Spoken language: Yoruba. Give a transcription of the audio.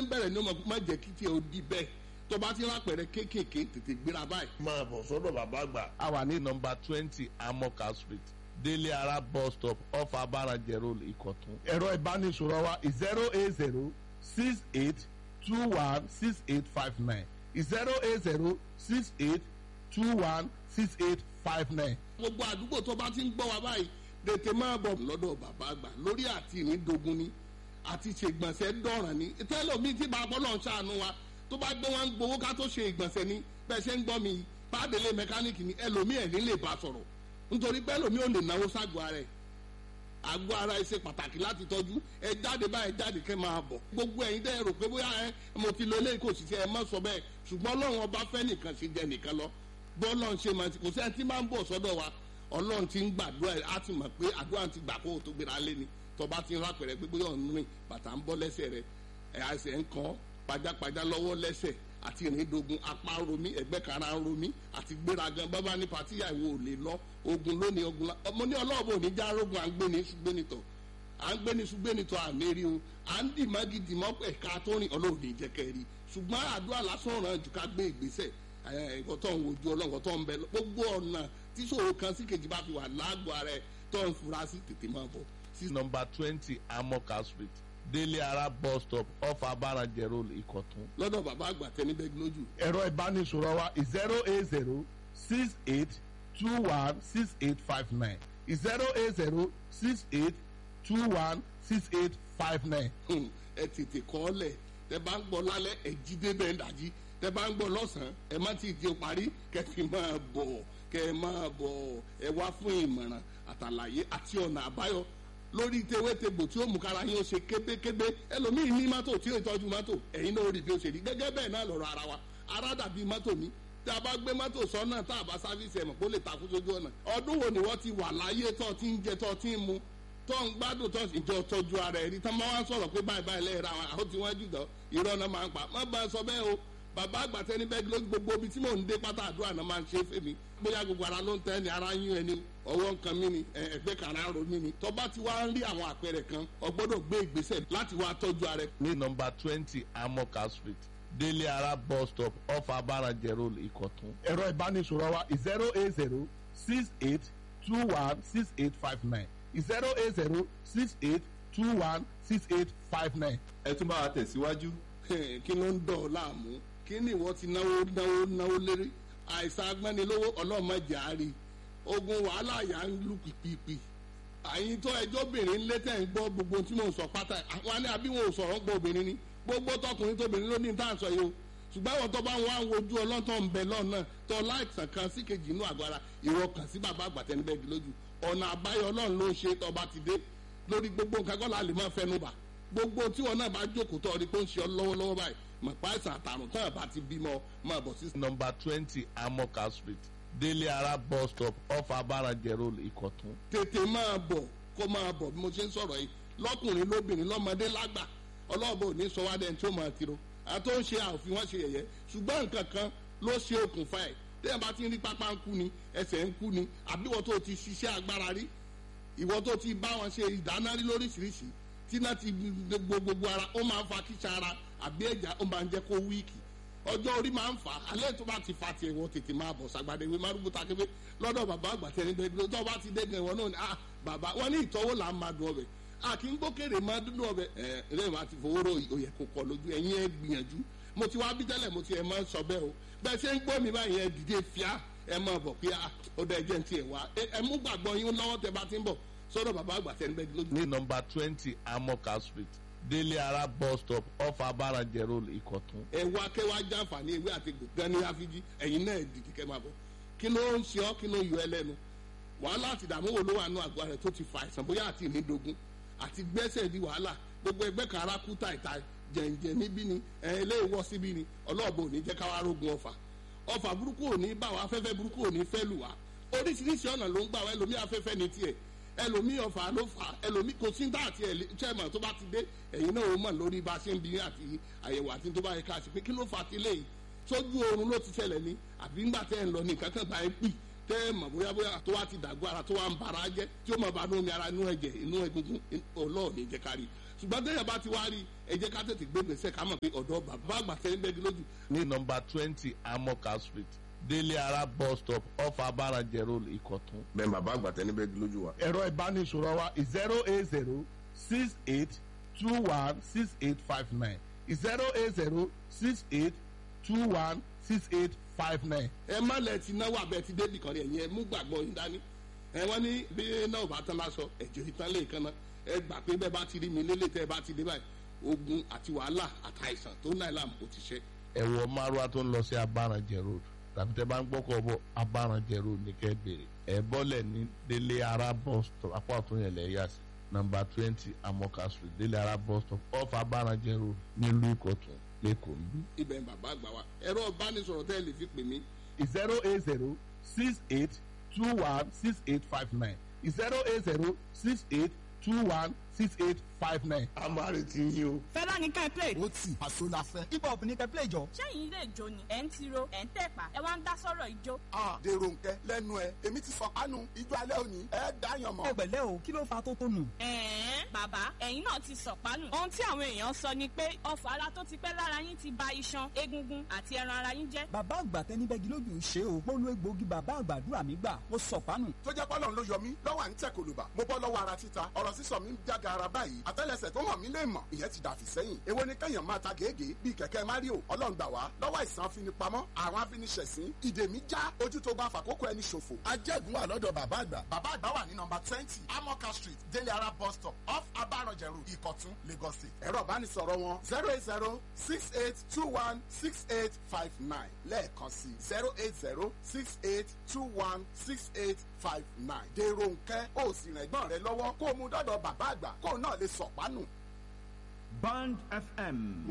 ń bẹ̀rẹ̀ ní ọmọ má jẹ́ kí tiẹ̀ ó di bẹ́ẹ̀. Tó bá ti rápẹ̀rẹ̀ kéékèèké, tètè gbéra báyìí. Máa bọ̀ sọ́dọ̀ bàbá àgbà. A wà ní nọmba 20 Amoka Street, Délé Ara bus stop, off Abarajẹ Road, Ìkọ̀tún. Ẹ̀rọ ìbánisọ̀rọ̀ wa 08068216859, 08068216859. Gbogbo àdúgbò tó bá ti ń gbọ́ wa báyìí, tètè máa bọ̀ lọ́dọ̀ bàbá àgbà lórí àti ìrìndògún ni àti ṣègbọ̀nsẹ̀ dọ̀ràn ni tẹ́lọ̀mí tí bàbá ọlọ́run ṣàánú wa tó bá gbé wọn gbowó ká tó ṣe ìgbọ̀nsẹ̀ ni. Bẹ́ẹ̀ ṣe ń gbọ́ mi pàdélé mẹkáníìkì ni ẹlòmí ẹ̀ ní lè bá sọ̀rọ̀, nítorí pé ẹlòmí ò lè náwó ságọ́ ara ẹ̀. Àgọ́ ara ẹ ṣe pàtàkì láti tọ́jú. Ẹ jáde báyìí, jáde kẹ́ máa bọ̀. Gbogbo ẹ̀yin dẹ́ rò pé bóyá ẹ mo ti lo eléyìí kò sì ṣe, ẹ má sọ bẹ́ẹ̀. Ṣùgbọ́n Ọlọ́run ọba fẹ́ nìkan ṣe jẹ nìkan lọ. Bọ́ọ̀lọ́run ṣe máa ti kò sí ẹni tí máa ń bọ̀ sọ́dọ̀ wa, Ọlọ́run ti ń gbàdúrà ẹ̀, á ti mọ̀ pé àdúrà ti gbà kó o tó gbéra lé ni. Tọba ti ń rápẹ̀rẹ̀ pé bóyá ọ̀n rìn, bàtà ń bọ́ lẹ́sẹ̀ rẹ̀, ẹ̀ àṣẹ ń kàn pajápajá lọ́wọ́ lẹ́sẹ̀, àti ìrìndògùn, apá ń romí, ẹ̀gbẹ́ kara ń romí, àti gbéragan bábá ní pàtíyà ìwò ò lè lọ ogun lónìí ogun la ọmọ ní ọlọ́ọ̀bù òní já rógun. À ń gbé ní ṣùgbẹ́nitọ̀, à ń gbé ní ṣùgbẹ́nitọ̀ àmì rí o, à ń dì mọ́gì dì mọ́ ẹ̀ka tó rìn, Ọlọ́run ní jẹ́ kẹ́ rí. Ṣùgbọ́n àdúrà lásán ràn jù ká gbé ìgbésẹ̀. Ẹ̀kọ́ tó ń wojú Ọlọ́run tó ń bẹ gbogbo ọ̀nà tí ṣòro kan sí kejì bá fi wà lágọ̀ọ́ ara ẹ̀ tó ń fura sí, tètè máa bọ̀. Sí nọmba 20 Amoka Street, Délé Ara bus stop, off Abarajẹ Road, Ìkọ̀tún. Lọ́dọ̀ bàbá àgbà tẹnibẹ́gi lójú. Ẹ̀rọ ìbánisọ̀rọ̀ wa 08068216859, 08068216859. Ẹ tètè kọ́ ọ lẹ̀. Tẹ bá ń gbọ́ lálẹ́, ẹ jí débẹ̀ ń dàjí. Tẹ bá ń gbọ́ lọ́sàn-án, ẹ má ti di parí kẹ fi máa bọ̀, kẹ máa bọ̀. Ẹ wá fún ìmọ̀ràn àtàlàyé àti ọ̀nà àbáyọ lórí tewétegbò tí ó mú kára yín ó ṣe kébékébé. Ẹlòmíì ní mọ́tò tí ó tọ́jú mọ́tò, ẹ̀yin náà ó rí bí ó ṣe rí. Gẹ́gẹ́ bẹ́ẹ̀ náà lọ̀rọ̀ ara wa, ara dàbí mọ́tò mi. Tí a bá gbé mọ́tò sọ́nà tá a bá sáfíìsì, ẹ̀mọ̀ kó lè takú sójú ọ̀nà. Ọdún wo ni wọ́n ti wà láyé tó ti ń jẹ, tó ti ń mu, tó ń gbádùn, tó ìjọ tọ́jú ara ẹ̀ rí tán máa wá sọ̀rọ̀ pé báyìí báyìí lẹ́yìn ra wọn, àwọn tí wọ́n jù lọ, irọ́ náà máa ń pa. Má bá a sọ bẹ́ẹ̀ o. Bàbá àgbàtẹ́ níbẹ̀ ló gbogbo ibi tí mò ń dé pátá, àdúrà náà máa ń ṣe é fèmí. Bóyá gbogbo ara ló ń tẹ́ ni, ara ń yún ẹni, ọwọ́ nǹkan mi ni, ẹgbẹ́ kan ara ń ro mí ni. Tó bá ti wá ń rí àwọn àpẹẹrẹ kan, o gbọ́dọ̀ gbé ìgbésẹ̀ láti wá tọ́jú ara ẹ. Ní nọmba 20 Amoka Street, Délé Ara bus stop, off Abarajẹ Road, Ìkọ̀tún. Ẹ̀rọ ìbánisọ̀rọ̀ wa 08068216859, 08068216859. Ẹ tún bá wa tẹ̀síwájú. Kí ló ń dọ̀ ọ́ láàmú? Kí ni ìwọ ti náwó náwó náwó lérí? Àìsàn agbẹ́nilówó, ọlọ́mọdé àárí ogun wàhálà yà ń lù pìpìpì. Àyìn tó ẹjọ́ obìnrin ń lé tẹ̀ ń gbọ́ gbogbo tí mò ń sọ pátá, àwọn alẹ́ àbí wọn ò sọ̀rọ̀ ń gbọ́ obìnrin ni. Gbogbo tọkùnrin tóbìnrin ló ní tá à ń sọ yìí o. Ṣùgbọ́n àwọn tó bá ń wá ń wojú ọlọ́tọ̀ ń bẹ lọ́nà tó láìsàn kan sí kejì inú àgọ́ ara, ìwọ kàn sí bàbá àgbàtẹ́nibẹ́gi lójú. Ọ̀nà àbáyọ Ọlọ́run ló ń ṣe. Tó bá ti dé lórí gbogbo nǹkan kọ́ la lè máa fẹnu bà. Gbogbo tí wọn náà bá jókòó tó rí pé ó ń ṣe ọ lọ́wọ́lọ́wọ́ báyìí, mọ̀ pa àìsàn àtàrùn tán àbá ti bímọ, máa bọ̀ sí. Nọmba 20 Amoka Street, Délé Ara bus stop, off Abarajẹ Road, Ìkọ̀tún. Tètè máa bọ̀, kó máa bọ̀ bí mo ṣe ń sọ̀rọ̀ yìí, lọ́kùnrin lóbìnrin, lọ́mọdé lágbà. Ọlọ́ọ̀bọ ò ní sọ wá dẹni tí ó máa tiro àti ó ń ṣe àòfin wọn ṣe yẹ̀yẹ́. Ṣùgbọ́n nǹkan kan ló ṣe okùnfà ẹ̀. Téèyàn bá ti ń rí pápá ń kú ni, ẹsẹ̀ ń kú ni, àbí ìwọ tó ti ṣiṣẹ́ agbára rí, ìwọ tó ti bá wọn ṣe ìdáná rí lóríṣiríṣi, tí náà ti gbogbo ara, ó máa ń fa kíṣà ara àbí ẹ̀já, ó máa ń jẹ́ kó wíìkì. Ọjọ́ orí máa ń fà á. Alẹ́ tó bá ti fa tiẹ̀, wọ́n tètè máa bọ̀ sàgbàdé ìwé márùn ta kébé lọ́dọ̀ bàbá àgbà tẹni bẹ́ẹ̀. Tó bá ti dé gan, ìwọ náà ni ah bàbá wọn ní ìtọ́wò là ń máa dùn ọbẹ̀, a kì í gbókèrè máa dúdú ọbẹ̀ ẹ lẹ́yìn máa ti fowó rò òyẹ̀ kò kọ lójú ẹ̀yin. Ẹ gbìyànjú, mo ti wá bí tẹ́lẹ̀, mo ti ẹ̀ máa ń sọ bẹ́ẹ̀ o. Bẹ́ẹ̀ ṣe ń gbọ́ mi báyìí, ẹ dìde fíà, ẹ máa bọ̀ pé ah ó dá ẹjẹ́ ń tiẹ̀ wá. Ẹ mú gbàgbọ́ yín lọ́wọ́ tẹ bá ti ń bọ̀ sọ́dọ̀ bàbá àgbà tẹni bẹ́ẹ̀ lójú. Ní nọmba 20 Amoka Street, Délé Ara bus stop, off Abarajẹ Road, Ìkọ̀tún. Ẹ wá kẹ́ wá jàǹfààní ewé àti gan ní àfíjí. Ẹ̀yin náà dìde kẹ́ máa bọ̀. Kí ló ń ṣe ọ́? Kí ló ń yọ ẹ lẹ́nu? Wàhálà àti ìdààmú wo ló wà nù àgọ́ rẹ̀ tó ti fa àìsàn, bóyá àti ìnídogun àti gbẹ́sẹ̀ di wàhálà, gbogbo ẹgbẹ́ kan ara kú tàìtàì, jẹ̀ǹjẹ̀ níbí ni ẹ eléyìí wọ́ síbí ni? Ọlọ́ọ̀bọ ò ní jẹ́ káwá rógun ọ̀fà. Ọ̀fà burúkú ò ní bá wa, afẹ́fẹ́ burúkú ò ní fẹ́ lù wá. Oríṣiríṣi ọ̀nà ló ń gbà wá. Ẹlòmí afẹ́fẹ́ ní tiẹ̀, ẹlòmí ọ̀fà ló fà, ẹlòmí kò sí dáàtì ẹ̀ chairman. Tó bá ti dé, ẹ̀yin náà ó mọ̀ lórí bá a ṣe ń bi àti àyẹ̀wò àti tó bá yẹ ká ṣe pé kí ló fà á ti léyìí. Sójú oorun ló ti ṣẹlẹ̀ ni, àbí ńgbà tẹ́ ẹ̀ ń lọ ní nǹkan kan bá ẹ pì tẹ́ ẹ mọ̀ bóyá bóyá tó wá ti dàgbọ́ ara, tó wá ń bara jẹ́, tí ó mọ̀ bá inú omi ara, inú ẹ̀jẹ̀, inú egungun, ọlọ́ọ̀ni jẹ́ kárí. Ṣùgbọ́n téèyàn bá ti wá rí, ẹ jẹ́ ká tètè gbé gbèsè, ká mọ̀ pé ọ̀dọ́ bàbá àgbà tẹ́ ń bẹ́gi lójú. Ní nọmba 20 Amoka Street, Délé Ara bus stop, off Abaranjẹ Road, Ìkọ̀tún. Bẹ́ẹ̀ bàbá àgbà tẹ́ níbẹ̀ lójú wa. Ẹ̀rọ ìbánisọ̀rọ̀ wa 08068216859, 08068216859. Ẹ má lẹ ti náwó abẹ ti débì kan rí. Ẹ̀yin ẹ mú gbàgbọ́ yín dání. Ẹ wọ́n ní bí náà bá tán lásọ ẹ̀jẹ̀ ìtàn lè kan náà. Ẹ gbà pé bẹ́ẹ̀ bá ti rí mi lélẹ̀, tẹ́ ẹ bá ti dé báyìí, ogun àti wàhálà àtàìsàn tó náà làm kò ti ṣe. Ẹ wọ márùwá tó ń lọ sí Abaranjẹ Road, tàbí tẹ bá ń gbọ́kọ̀ bọ̀, Abaranjẹ Road ní kẹ́ bèrè. Ẹ bọ́lẹ̀ ní Délé Ara bus stop, apá ọ̀tún yẹn lẹ̀ yà sí nọmba 20 Amoka Street, Délé Ara bus stop, off Abaranjẹ Road, nílùú Ìkọ̀tún, lẹ́kọ̀ọ́ ń bí. Ibẹ̀ ń bàbá àgbà wa. Ẹ̀rọ ìbánisọ̀rọ̀ tẹ́ ẹ lè fi pè mí: 08068216859, 08068216859. A máa retí yín o. Fẹlá ní ká ẹ play. Ó tì àṣọ la fẹ́. Hip hop ní ká ẹ play jọ. Ṣẹ́yìn ilé ìjó ni ẹ̀ ń tiro, ẹ̀ ń tẹ̀pá, ẹ wá ń dá sọ̀rọ̀ ìjó? Dèrò nkẹ lẹ́nu ẹ, èmi ti sọ kánú ijó alẹ́ òní, ẹ dáyàn mọ́. Ẹ pẹ̀lẹ́ o, kí ló fa tó tó nù? Ẹ̀ẹ́n, bàbá, ẹ̀yin náà ti sọ̀pánù. Ohun tí àwọn èèyàn sọ ni pé ọfọ̀ ara tó ti pẹ́ lára yín ti ba iṣan, egungun àti ẹran ara yín jẹ́. Bàbá àgbà tẹnibẹ́gi lójú ṣe o. Mo lo egbòogi bàbá àgbàdúrà mi gbà, mo sọ̀pánù. Tó jẹ́ pọ́lọ́n ló yọ mí lọ́wọ́ à ń tẹ̀ kòlùbà, mo bọ́ lọ́wọ́ ara títa, ọ̀rọ̀ sísọ mi ń jága ara báyìí, àtẹ́lẹsẹ̀ tó hàn mí lè mọ̀, ìyẹn ti dàfí sẹ́yìn. Èwo ni kẹ́yàn máa ta gègé bíi kẹ̀kẹ́ Mario? Ọlọ́run gbà wá lọ́wọ́ àìsàn afinipamọ́, àwọn afiniṣẹ̀sín, ìdè mi já, ojú tó bá fàkókò ẹni ṣòfò. Ajẹ́gun wà lọ́dọ̀ bàbá àgbà. Bàbá àgbà wà ní nọmba 20 Amoka Street, Délé Ara bus stop, off Abaranjẹ Road, Ìkọ̀tún, Lagos State. Ẹ̀rọ ìbánisọ̀rọ̀ wọn 08068216859, lẹ́ẹ̀kan sí 08068216859. Dèrò nkẹ́, ó sì rìn ẹ̀gbọ́n rẹ lọ́wọ́ kó o mú dọ́dọ̀ bàbá àgbà kó o náà lè sọ̀pánù. Band FM.